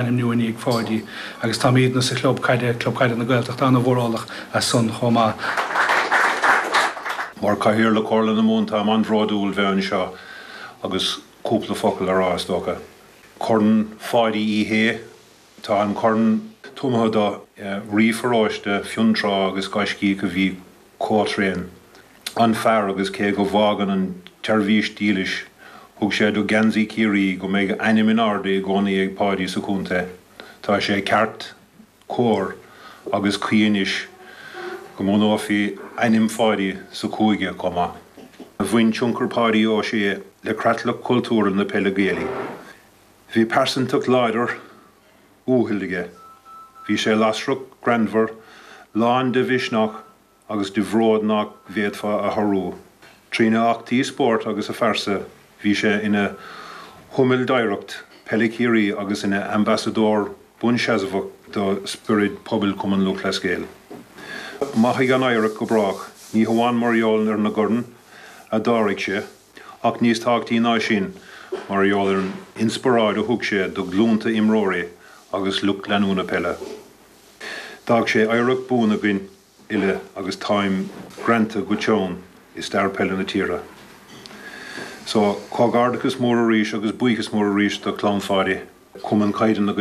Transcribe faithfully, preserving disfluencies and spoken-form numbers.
Ainmniú i ndiaidh Pháidí agus táimidne sa chlub caide Club Caide na Gaeltachta an-mhórálach as san chomh maith. Mar Chathaoirleach Chomhairle na Mumhan táim an-bhródúil bheith anseo agus cúpla focal a rá is dócha. Corn Pháidí Uí Shé Tá an corn tabhartha do rí pharóiste Fionntrá agus gaiscíoch a bhí chomh tréan. An fear agus cé go bhfágann an tseirbhís dílis thug sé do gheansaí Chiarraí go mbeidh ainm in airde i gcónaí ag Páidí sa chontae. Tá sé ceart cóir agus cuí anois go mbunófaí ainm Pháidí sa chúige chomh maith. Bhain tionchar Páidí Ó Sé le creatlach cultúrtha na peile Gaelaí. Bhí pearsantacht láidir uathúil aige. Bhí sé lasrach greannmhar lán de mhisneach agus de bhród nach bhféadfá a shárú. Trína eachtraí spóirt agus a phearsa bhí sé ina shiombail d'oidhreacht peile Chiarraí agus ina ambasadóir buanseasmhach do spiorad pobail Chumann Lúthchleas Gael. Mairfidh an oidhreacht go brách, ní hamháin mar gheall ar na coirn a d'ardaigh sé, ach níos tábhachtaí ná sin mar gheall ar an inspioráid a thug sé do ghlúnta imreoirí agus lucht leanúna peile. D'fhág sé oidhreacht buan againn uile agus táim greanta go teann i stair peile na tíre. So comhghairdeachas mór arís agus buíochas mór arís do chlann Pháidí, Cumann Caide na